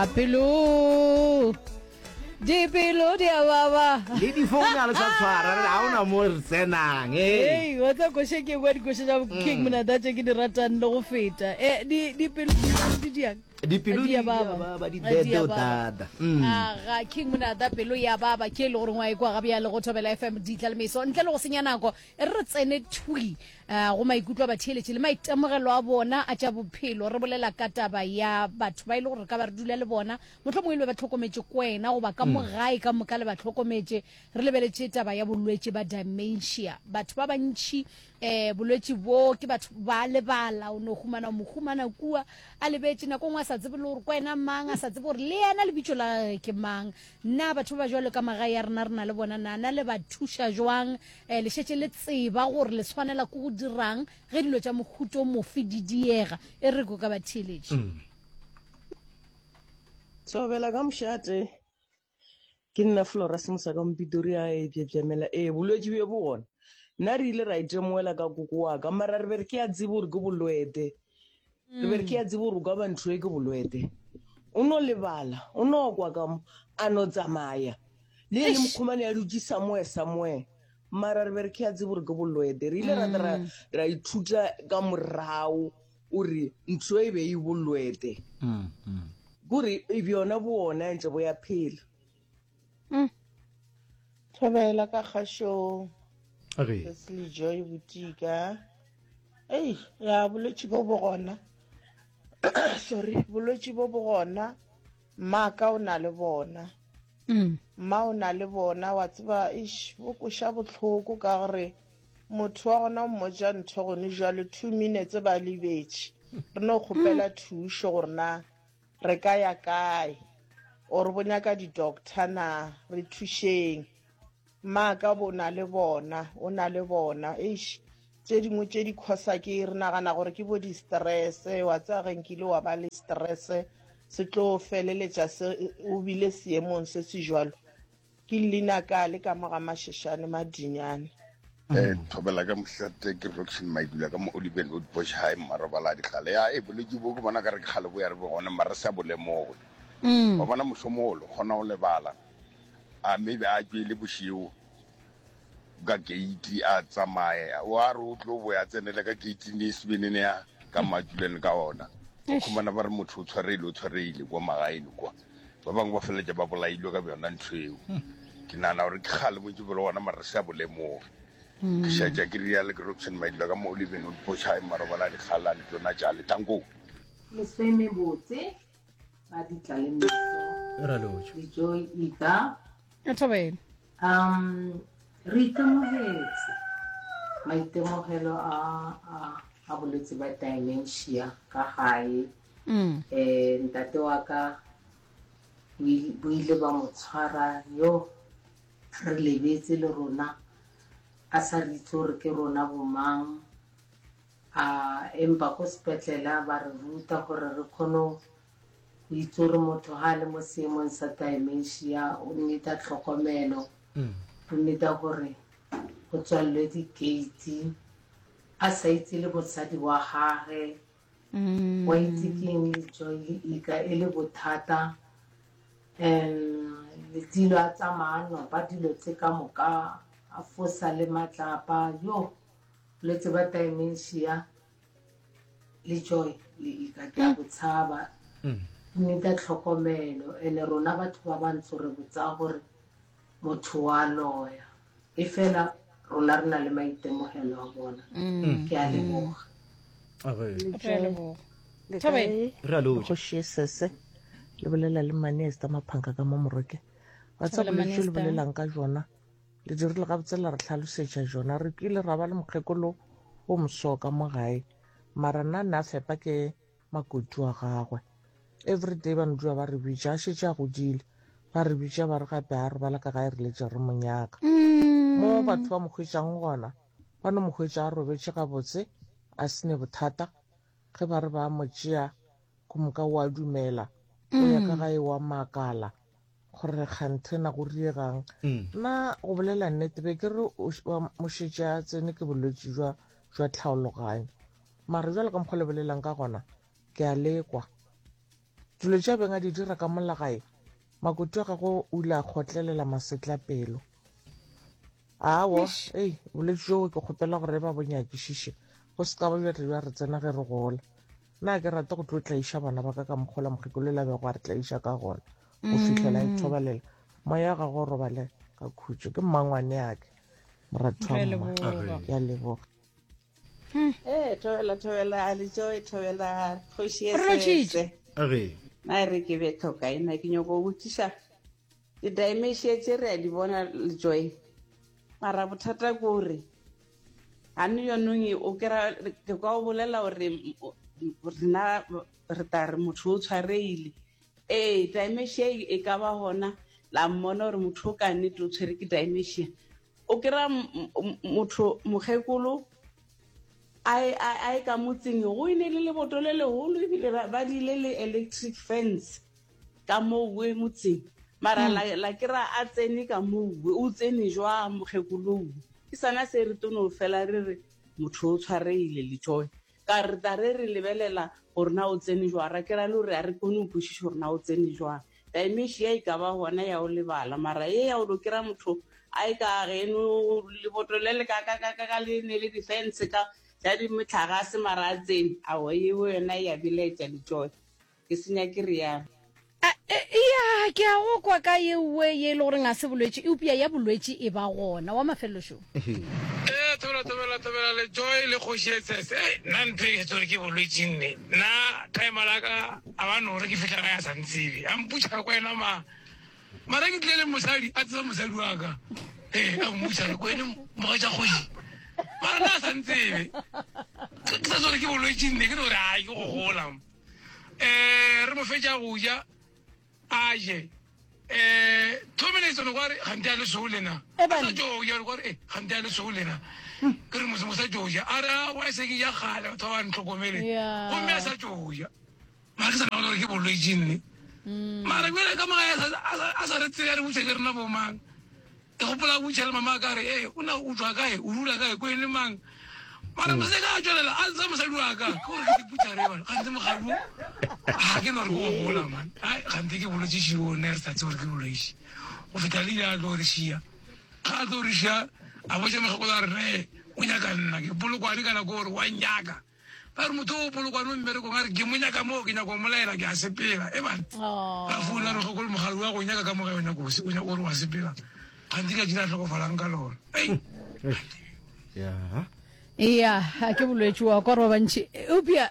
A pelo dipelo di a baba le difounu a le sa tshwara re ga ona mo re tsenang ee wa tsa koše ke kwa dikoše tša king monata tše ke di ratang le go feta e dipelo di diang dipelo di a baba di dedo dada mm. aga king monata pelo ya baba ke e le gore ngwa e kwa ga bjale go thobela fm ditla le meso ntle le go senya nako e re tsene thwi eh, go maikutlo a batheeletši le maitemogelo a bona a tša bophelo. Re bolela ka taba ya batho ba e le gore re ka ba re dula le bona, mohlomongwe e le ba hlokometše kwena goba ka mo gae ka moka le ba hlokometše. Re lebeletše taba ya bolwetši ba dementia. Batho ba bantši um bolwetši bo ke batho ba lebala, o no humana o mo humana kua a lebetše, nako nngwe a sa tsebe le gore kwena mang, a sa tsebe gore le yena lebitso la gagwe ke mang. Na batho ba ba jwalo ka magae a rena re na le bona na? Na le ba thuša jwang? Eh, le šetše le tseba gore le swanela ke go dirang ge dilo tša mohuto mofe di diega. E re ko ka batheeletši. Mm. Thobela ka mošate. Ke nna Flora Semosa ka Mpitoria e bjebjamela. Ee, bolwetši bjo bo gona. Nna re ile ra itemogela ka koko wa ka, mara re be re ke a tsebe gore ke bolwete. Re be re ke a tsebe gore o ka ba ntho e ke bolwete. O no lebala, o no kwa ka mo, a no tsamaya. Le ene mokgomane a dutše somewhere somewhere. Mara re be re ke a tsebe gore ke bolwete. Re ile ra tla ra, ra ithuta ka morago gore ntho e be e bolwete. Kore bjona bo ona ntše bo ya phela. Thobela ka kgašong. Re. Leslie Joy Botika. Ei, ya bolwetši bo bo gona. Sorry, bolwetši bo bo gona. Mmaka o na le bona. Mm. Mma o na le bona, wa tseba, eish, bo kweša bohloko ka gore motho wa gona o mmotša ntho gone jwale 2 minutes ba lebetše. Re no kgopela thušo gore na re ka ya kae or bo nyaka di-doctor na, re thušeng. Mmaaka bo na le bona, o na le bona. Eish, tše dingwe tše di khosa ke re nagana gore ke bo di-stress, wa tseba ge nkile wa ba le stress se tlo feleletša se o bile seemong se se jwalo. Ke leina ka le ka mo ga Masheshane Madinyane. Eh, thobela ka mošate ke Roxin Maidula ka mo Oliven Road Bush High Mmarobala a dikgale ya e bolwetši bo ke bona ka re ke kgale bo ya re bo gone mara re sa bo lemoge wa bona mošomo o kgona go lebala a maybe a tšwele bošego ka gate a tsamaye wa re o tlo boya tsenele ka gate ne sebenene ya ka matšuleng ka ona o khumana ba re motho o tshwareile o tshwareile kwa magaeng kwa ba bangwe ba feleletša ba bolailwe ka bjona ntho eo ke nagana gore ke kgale bontši bo le gona mara re sa bo lemoge ke šetša ke riale ke robson maidula ka mo oliven o dipošae marobala a dikgala le tsona tšale tankong Lesome botse ba ditla le meso Ra lotšha. le joy ika Thobela. um re itemogetse maitemogelo a a a bolwetse ba dementia ka gae Mm. eh ntate wa ka bo ile- bo ile ba mo tshwara yo re lebetse le rona a sa re itse gore ke rona bomang A empa ko sepetlela ba re ruta gore re kgone go itse gore motho ga a le mo seemong sa dementia o needa tlhokomelo, o needa gore go tswalelwe di-gate a sa itse le mosadi wa gage, wa itse ke eng le joy le ika e le bothata. Um Letilo a tsamaya a nopa dilo tse ka moka a fosa le matlapa yo. Bolwetse ba dementia le joy le ika ke a bo tshaba need tlhokomelo ene rona batho ba bantsho re botsa gore motho wa loya e fela rona re na le maitemogelo a bona ke a leboga Re a leboga. Thobela. Re a lotšha. Kgoši Sese le bolela le Mane Esther Maphanka ka mo Moroke. Wa tseba Thobela, bolwetši le Mane Esther. bolelang ka jona Le dirile gabotse la re hlalosetša jona. Re kile ra ba le mokgekolo wo moso ka mo gae, mara nna nna fepa ke makoti wa gagwe. Everyday ba no dula ba re bitša, a šetše a godile. Ba re bitša ba re gape a robala ka gae re letše re mo nyaka. Mo batho ba mo hwetšang gona, ba no mo hwetša a robetše gabotse, a se ne bothata. Ge ba re ba mo tšea, ke moka o a dumela, o ya ka gae wa makala. Gore kganthe na go riegang. Nna go bolela nnete be ke re wa mošetše a tsene ke bolwetši jwa jwa tlhaologanyo. Mara jwale ka mokgwa le bolelang ka gona ke a lekwa. Dilo tše a beng a di dira ka mola gae, makoti wa gagwe o ile a kgotlelela masetlapelo. Aowa, Eish. ei, bolwetši bjoo ke kgopela gore ba bo nyakišiše, bo se ka ba bja tla bja re tsena ge re gola. Nna ga ke rate go tlo tlaiša bana ba ka ka mokgwa wola mokgekolo yola a bego a re tlaiša ka gona go fihlela a ithobalela. Moya wa gagwe o robale ka khutšo. Ke mmangwaneake, moratho Re wa mma. leboga. Ke a leboga. Ee, thobela, thobela, Lejoe, thobela, kgoši Re lotšhitše. Esese. Age. Na e re ke be tlhokaina, ke nyoko go botšiša di-dementia tše re a di bona Lejoe. Mara bothata ke gore gane yonong o kry-a ke kwa o bolela gore rena re tla re motho o tshwaregile. Ee, dementia e ka ba gona la mmona gore motho o ka nnete o tshwere ke dementia. O kry-a motho mokgekolo a ye ka motseng go ene le leboto le legolo ebile ba dile le electric fence ka mowe motseng mara hmm. la kry-a a tsene ka mowe o tsene jwa mokgekolowe ke sana se re tono fela re re motho o tshwaregile letšoe ka re tla re re lebelela gore na o tsene jwang ra kry-a le gore a re kgone go kwešiša gore na o tsene jwang dementia e ka ba gona ya o lebala mara ye ya o lo kry-a motho a e ka geno leboto le le kakakakaka le ne le di-fence ka tša di metlagase mara a tsene aowa yeo yona e ya belaetša letšoe ke senya ke realo. Ya, ke a go kwa ka yeuwe ye e le goreng ga se bolwetši, eupša ya bolwetši e ba gona. Wa mafelelo šo. Ee, thobela, thobela, thobela, Letšoi le kgoši e tshese. Ei, nna ntho e ke sa tsebe ke bolwetši nne. Nna timer la ka a ba no re ke fihla gae a sa ntsebe. A mputša re kwena ma. Mara ke tlile le mosadi, a tseba mosadi wa ka. Ee, a mmutša re kwene mogatša kgoši. Mara nna a sa ntsebe. Ke sa tsebe gore ke bolwetši nne, ke no re ai ke go gola. um re mo fetša go ja a je um two minutes one kware gante a le sou lena a sa tšo ja kware e gante a le sou lena ke re mose mosa tšo ja a re a wa se ke ja kgale batho ba ba ntlhokomele gomme a sa tšo ja mara ke sa nagana gore ke bolwetši nne mara bjale ka moga a sa re tsebe a re botša ke rena bomang Ke gopola a botša le mama ka re, Ee, o na o tšwa kae? O dula kae? Ko ene mang? Mara mosadi ka a tšwelela a ntsha mosadi wa ka. Ke gore ke diputša re bana. Gantsi mogadi o ga ke no re ke go gola man. Ai gantsi ke bolwetši šio ne re sa tsebe gore ke bolwetši. Go fihla le ile a tlo re šia. Ga a tlo re šia a botša mokgekolo a re re o nyaka nna ke polokwane ka nako gore wa nnyaka. Ba re motho o polokwane o mmerekong a re ke mo nyaka moo ke nyaka go molaela ke a sepela. E bana ra founa re gokolo mogadi wa go nyaka ka moga o nyaka o nyaka gore wa sepela. Gantsi ka jina hlokofalang ka lona. Ei. Ya. Ya, a ke bolwetši wa kwa gore ba bantši eupša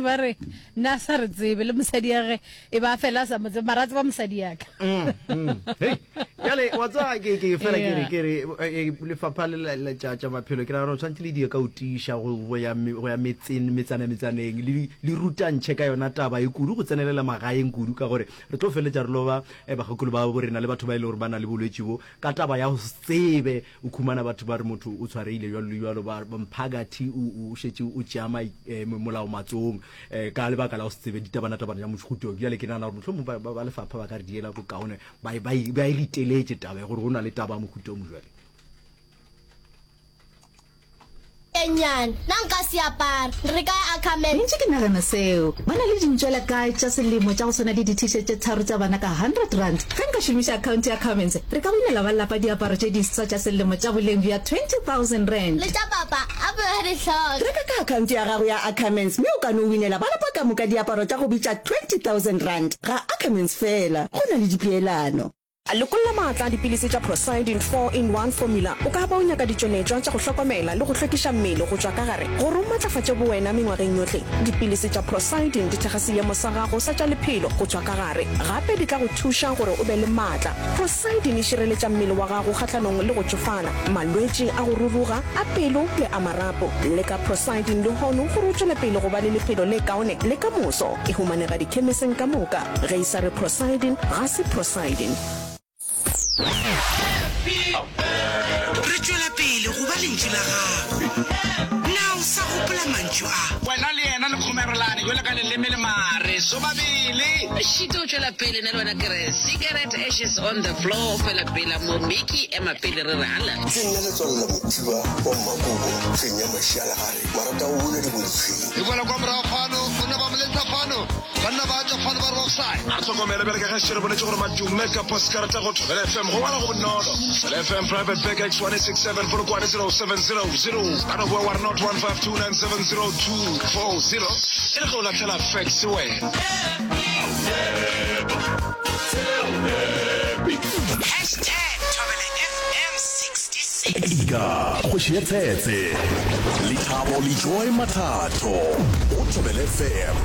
ba re nna sa re tsebe le mosadi ya ge e ba fela a sa mo tsebe mara a tseba mosadi ya ka. Mm, mm. Hei, bjale wa tseba ke ke fela ke re ke re eh, eh, lefapha le la- la tša tša maphelo ke nagana gore tshwanetse le die ka o tiiša go go ya me- go ya metseng metsana metsaneng le le rutantšhe ka yona taba e kudu go tsenelela magaeng kudu ka gore re tlo feleletša re loba eh, bagekolo ba bo rena le batho ba e le gore ba na le bolwetši bo ka taba ya go se tsebe O khumana batho ba re motho o tshwaregile jwalo le jwalo, ba mphakathi o šetše o tšea molao matsogong ka lebaka la go se tsebe ditabanatabana tša mošuto. Bjale ke nagana gore mohlomongwe ba lefapha ba ka re diela bokaone ba e riteletše taba ya gore go na le taba ya mohuta o mojwale. E nnyane. Nna nka se apare. Re kae Ackerman? Ntše ke nagana seo. Ba na le dintšwela kae tša selemo tša go swana le di-T-shirt tše tharo tša bana ka R100? Ge nka šomiša akhaonte ya Ackermans, re ka winela ba lapa diaparo tše diswa tša selemo tša boleng bja R20 000. Le tša papa, a be a di hloka. Reka ka akhaonte ya gago ya Ackermans mme o ka no winela ba lapa ka moka diaparo tša go bitša R20 000. Ga Ackermans feela, go na le dipeelano. Lokolla maatla a dipilisi tša Procyldin 4-in-1 Formula. O ka ba o nyaka ditšweletšwa tša go hlokomela le go hlwekiša mmele go tšwa ka gare gore o matlafatše bowena mengwageng yohle. Dipilisi tša Procyldin di thekga seemo sa gago sa tša lephelo go tšwa ka gare. Gape di tla go thuša gore o be le maatla. Procyldin e šireletša mmele wa gago kgahlanong le go tšofala, malwetši a go ruruga, a pelo le a marapo. Leka Procyldin lehono gore o tšwele pele go ba le lephelo le kaone le ka moso. E humanega dikhemiseng ka moka. Ge e sa re Procyldin, ga se Procyldin. Re tšwela pele go ba lentšu la gago. Na o. sa gopola mantšu a. Wena le yena le kgomerelane bjalo ka leleme le mare sobabele. Šito o tšwela pele, nna le wena ke re cigarette ashes on the floor, fela pela mo Mickey ema pele re re hala. Ke nna Letswalo la Mothiba wa Mmakobo, hleng ya Mašialagare, marata go buna diboditshweng. E boela kwa morago fano, banna ba moletsa fano, banna ba tšwa fano ba re offside. A re hlokomele bjale ka ge še re boletše gore madume ka postkarata go Thobela FM go ngwala go bonolo. Thobela FM Private Bag X1867 Polokwane 07000. Ka no boa wa re not 152970240 e le ge o lahlela fax wena. Hashtag Thobela FM 66. Ika kgoši ya tshetse Lethabo Lejoy Mathatho go Thobela FM.